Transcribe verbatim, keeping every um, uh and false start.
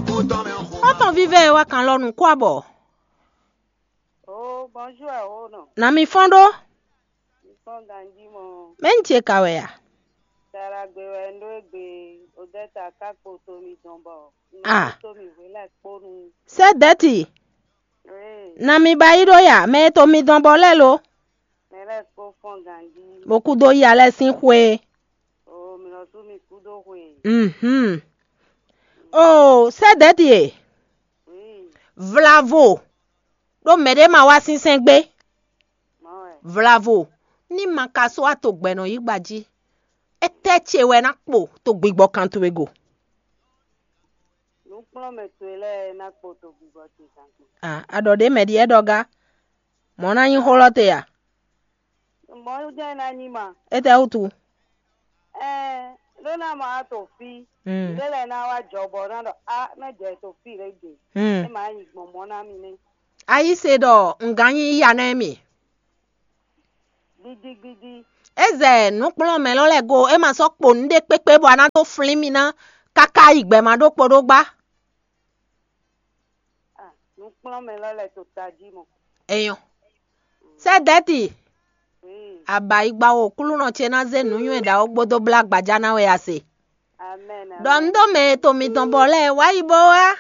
Xɔ́ntɔn vívɛ́ e wá kan lɔ nǔ kó abɔ. Oh, bonjour, Ahono. Nà mi fɔ́n ɖó. Mi fɔ́n ganjí mɔ. Mɛ̌ un ce ka wɛ a? Saragbe wɛ un ɖó égbé, Odɛta ka kpo to mi dɔn bɔ un Ah. Kpo to mi hwelɛ́ kponu. Sɛ́ dɛ̌ti. Ee, Nà mi ba yí ɖó ya, mɛ e to mi dɔn bɔ lɛ́ lo. Mɛ lɛ́ɛ kpo fɔ́n ganjí. Bó kú dó ya lɛ́ɛ sín xwé. Oo, mi nɔ sú mi kú dó xwe. Mhm. Oo, sɛ́ dɛ̌ti e. Oui, Vlavo. Ɖó mɛɖé ma wá sínsɛ́n gbé. Mɔ wɛ. Vlavo. Ní ma ka só wá to gbɛ̌nɔ yí gba jí. Étɛ́ ce wɛ ná kpo to gbigbɔ kan towe go? Nǔkplɔ́nmɛ towe lɛ́ɛ ná kpo to gbigbɔ ce kan kpo. Ah, a ɖɔ ɖě mɛ ɖi ɛ ɖɔ gá. Mɔ̌ ná nyí xó lɔ te a? Mɔ̌ jɛ́n ná nyí ma. Étɛ́ wútu? Ɛɛ, ɖó ná ma wá to fí. Mm. Ɖé lɛ́ɛ ná wá jɔ bɔ ná ɖɔ á, ná jɛ to fí lě gbe. Mm. É ma nyí gbɔn mɔ̌ ná mi nɛ́. Ayíse ɖɔ un gán nyí yíya nɛ́ mi. Gbídígbídí. É zɛ nǔkplɔ́nmɛ lɔ lɛ́ɛ go, é ma sɔ́ kpo nǔɖé kpékpé bɔ a ná dó flín mi ná káká yi gbɛ ma ɖó kpo ɖó gbá. Ah, nǔkplɔ́nmɛ lɔ lɛ́ɛ to tají mɔ. Enyɔ. Sɛ́ dɛ̌ti. Oui. Abayigba wo kúlúnɔ ce ná zé nǔnywɛ́ ɖaxó gbódó blá gbajá ná wɛ a se. Amen. Ɖɔ un ɖó mɛ e to mitɔn bɔ lɛ́ɛ wá yi bó wá.